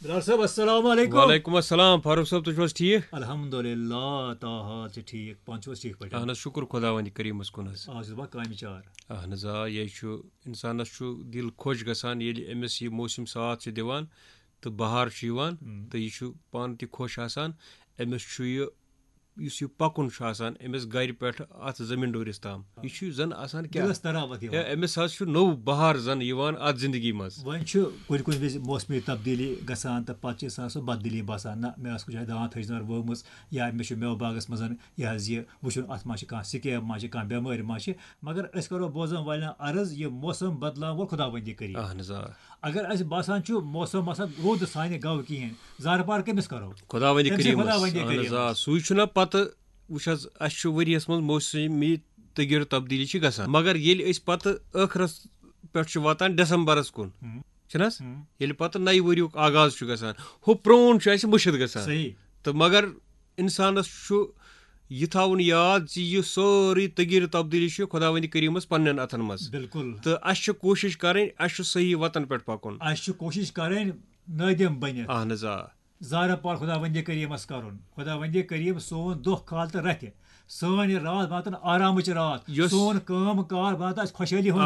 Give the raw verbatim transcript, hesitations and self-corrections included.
Doctor صٲب، السلام علیکم۔ وعلیکم السلام، فاروق صٲب، تُہۍ چھِو حظ ٹھیٖک؟ الحمدللہ، تاہا حال چھِ ٹھیٖک، پانہٕ چھِو حظ ٹھیٖک پٲٹھۍ؟ اہن حظ، شُکُر خۄداوندِ کریٖمَس کُن حظ۔ آز چھُس بہٕ کامہِ چار۔ اہن حظ، آ، یہِ چھُ، اِنسانَس چھُ دِل خۄش گژھان، ییٚلہِ أمِس یہِ موسم ساتھ چھُ دِوان تہٕ بہار چھُ یِوان، تہٕ یہِ چھُ پانہٕ تہِ خۄش آسان۔ أمِس چھُ یہِ، یُس یہِ پَکُن چھُ آسان أمِس گَرِ پٮ۪ٹھ اَتھ زٔمیٖن ڈوٗرِس تام، یہِ چھُ زَن آسان کیٛاہ؟ دِلس تراوت یِوان۔ ہے، أمِس حظ چھُ نوٚو بہار زَن یِوان اَتھ زِندگی منٛز۔ وۄنۍ چھُ کُنہِ کُنہِ وِزِ موسمی تبدیٖلی گژھان تہٕ پتہٕ چھِ اِنسانَس سُہ بددِلی باسان، نہ، مےٚ ٲس کُنہِ جایہِ دان تھٔج نٲر وٲومٕژ، یا مےٚ چھُ مٮ۪وٕ باغس منٛز یہِ حظ یہِ وٕچھُن، اَتھ ما چھِ کانٛہہ سِکیب ما چھِ، کانٛہہ بٮ۪مٲرۍ ما چھِ۔ مگر أسۍ کرو بوزن والٮ۪ن عرض، یہِ موسم بدلاون وول خۄداوندِ کریٖم۔ اہن حظ، آ۔ اگر اَسہِ باسان چھُ موسم ہسا روٗد سانہِ گوٚو کِہیٖنۍ، زارٕ پار کٔمِس کرو؟ خۄداوندِ تٔمۍ سٕے کریٖمَس۔ خۄداوندِ اہن حظ، کریٖمَس۔ آ، سُے چھُنہ پتہٕ، وٕچھ حظ، اَسہِ چھُ ؤریَس منٛز موسمی تغیر تبدیٖلی چھِ گژھان، مگر ییٚلہِ أسۍ پتہٕ ٲخرس پٮ۪ٹھ چھِ واتان دسمبرس کُن، چھِنہٕ حظ؟ ییٚلہِ پتہٕ نَیہِ ؤریُک آغاز چھُ گژھان، ہُہ پرٛون چھُ اَسہِ مٔشِتھ گژھان۔ صحیح۔ تہٕ مگر اِنسانَس چھُ یہِ تھاوُن یاد زِ یہِ سٲرٕے تغیر تبدیٖلی چھِ خۄداوندِ کریٖمَس پنٛنٮ۪ن اَتھَن منٛز۔ بِلکُل۔ تہٕ اَسہِ چھِ کوٗشِش کَرٕنۍ، اَسہِ چھُ صحیح وَتَن پٮ۪ٹھ پَکُن۔ اَسہِ چھِ کوٗشِش کَرٕنۍ نٲدِم بٔنِتھ۔ اہن حظ، آ۔ زارٕ پار خۄداوندِ کریٖمَس کَرُن۔ خۄداوندِ کریٖم سون دۄہ کال تہٕ رَتھِ، سٲنۍ یہِ راتھ بناتَن آرامٕچ راتھ، یۄس سون کٲم کار بناتَن اَسہِ خۄشحٲلی ہُنٛد